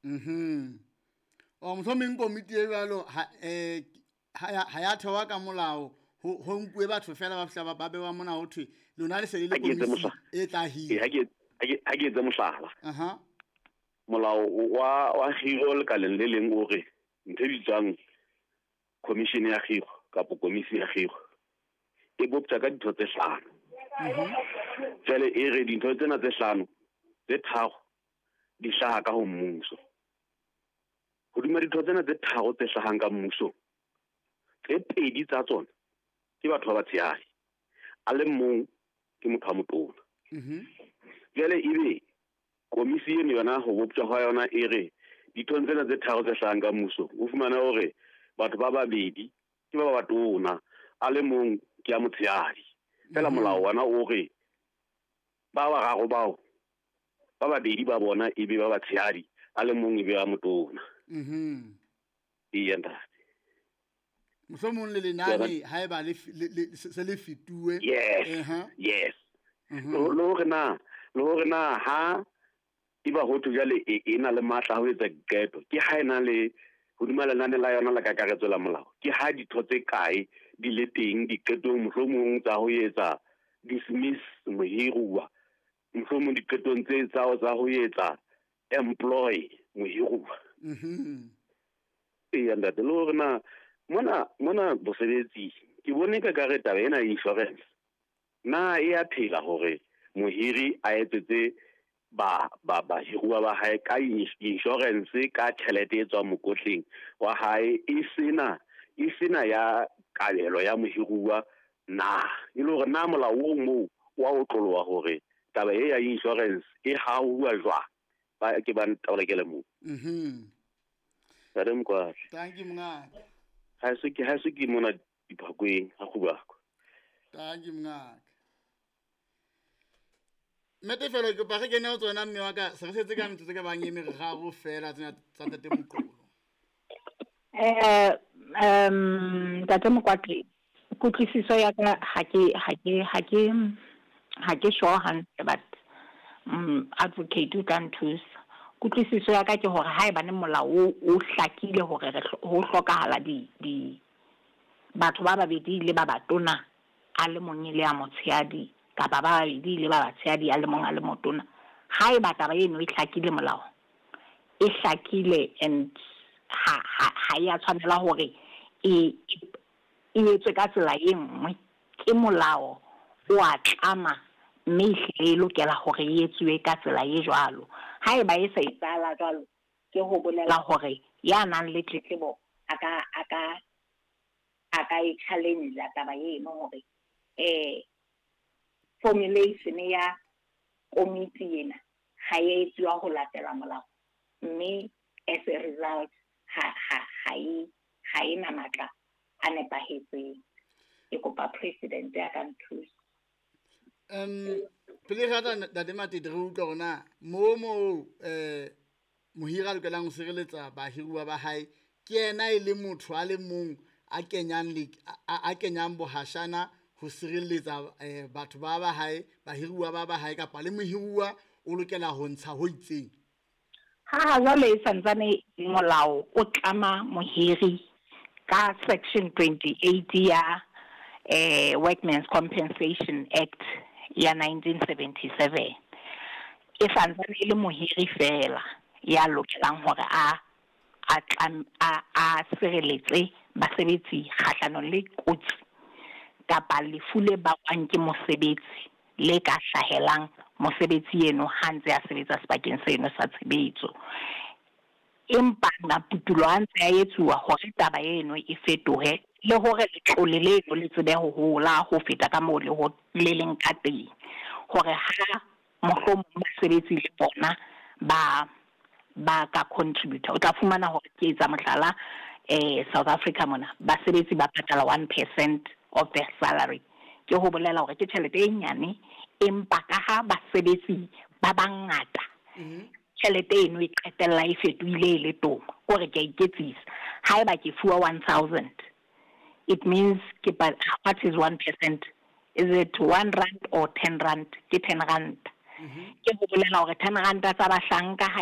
O mohlomong komiti e jwalo ha ya thewa ka molao, ho nkuwe batho fela ba fihla ba bewa mona ho thwe lona le se le le komisi e tla hira. Ha ke etse mohlala. Molao wa kgiro lekaleng le leng o re ntho e bitswang commission ya kgiro kapa komisi ya kgiro e boptjwa ka ditho tse hlano. Jwale e re dintho tsena tse hlano tse tharo di hlaha ka ho mmuso. Hodima ditho tsena tse tharo tse hlahang ka mmusong, tse pedi tsa tsona ke batho ba batshehadi, a le mong ke motho wa motona. Jwale ebe komisi eno yona ho boptjwa hwa yona e re dithong tsena tse tharo tse hlahang ka mmuso, o fumana hore batho ba babedi ke ba batona, a le mong ke ya motshehadi. Fela molao wona o re ba bararo bao ba babedi ba bona ebe ba batshehadi, a le mong ebe ba motona. Eya ntate. Mohlomong le lenane haeba le se le fetuwe. Yes. Yes. Le hore na ha eba ho thwe jwale e na le matla a ho etsa diqeto, ke ha ena le hodima lenane la yona la kakaretso la molao, ke ha ditho tse kae di le teng diqetong mohlomong tsa ho etsa dismiss mohiruwa, mohlomong diqetong tse tsa ho etsa employ mohiruwa. Eya ntate, le hore na mona bosebetsi ke bone ka kare taba ena insurance na e a phela hore mohiri a etsetse ba bahiruwa ba hae ka insurance ka tjhelete e tswang mokotleng wa hae, e sena ya kabelo ya mohiruwa na e le hore na molao o moo wa o tloloha hore taba e ya insurance e hauwa jwang? Ba ke ba ntaolekele moo. Ntate Mokwatla. Thank you mongaka. Ha se ke mona diphakweng ha kgubako. Thank you mongaka. Mmetefelo ke kopa re kene ho tsona mme wa ka, se re setse ka metsotso ka bang e meraro fela tsena tsa Ntate Moqolo. Ntate Mokwatla, kutlwisiso ya ka ha ke sure hantle, but advocate o tla nthusa. Kutlwisiso ya ka ke hore haebane molao o hlakile hore ho hlokahala di batho ba babedi le ba batona, a le mong le a motshehadi, kapa ba babedi le ba batshehadi a le mong a le motona. Haeba taba eno e hlakile molao, e hlakile and ha ya tshwanela hore e etswe ka tsela e nngwe, ke molao o a tlama mme ehlile e lokela hore e etsuwe ka tsela e jwalo. Haeba e sa etsahala jwalo, ke ho bolela hore ya nang le tletlebo a ka e challenge taba eno hore formulation ya komiti ena ha e etsuwa ho latela molao, mme as a result ha e na matla a nepahetseng. Ke kopa president ya ka nthusa. Pele re tla Ntate Matete re utlwa hore na moo mohiri a lokelang ho sireletsa bahiruwa ba hae ke yena e le motho a le mong a kenyang bohashana ho sireletsa batho ba hae, bahiruwa ba hae, kapa le mohiruwa o lokela ho ntsha ho itseng. Ha jwale e santsane molao o tlama mohiri ka section 28 ya Workmen's Compensation Act ya 1977, e santsane e le mohiri fela ya lokelang hore a sireletse basebetsi kgahlanong le kotsi kapa lefu le bakwang ke mosebetsi le ka hlahelang mosebetsi eno ha ntse a sebetsa sebakeng seno sa tshebetso. Empa maputulo a ntse a etsuwa hore taba eno e fetohe le hore letlole leno le tsebe ho hola ho feta ka moo le leng ka teng, hore ha mohlomong basebetsi le bona ba ka contributor. O tla fumana hore ke etsa mohlala, South Africa mona basebetsi ba patala 1% of their salary. Ke ho bolela hore ke tjhelete e nyane, empa ka ha basebetsi ba bangata, tjhelete eno e qetella e fetohile e le toma. Kore ke a iketsisa, haeba ke fuwa 1000, it means ke what is 1%? Is it 1 rand or 10 rand? Ke 10 rand. Ke ho bolela hore 10 rand tsa bahlanka ha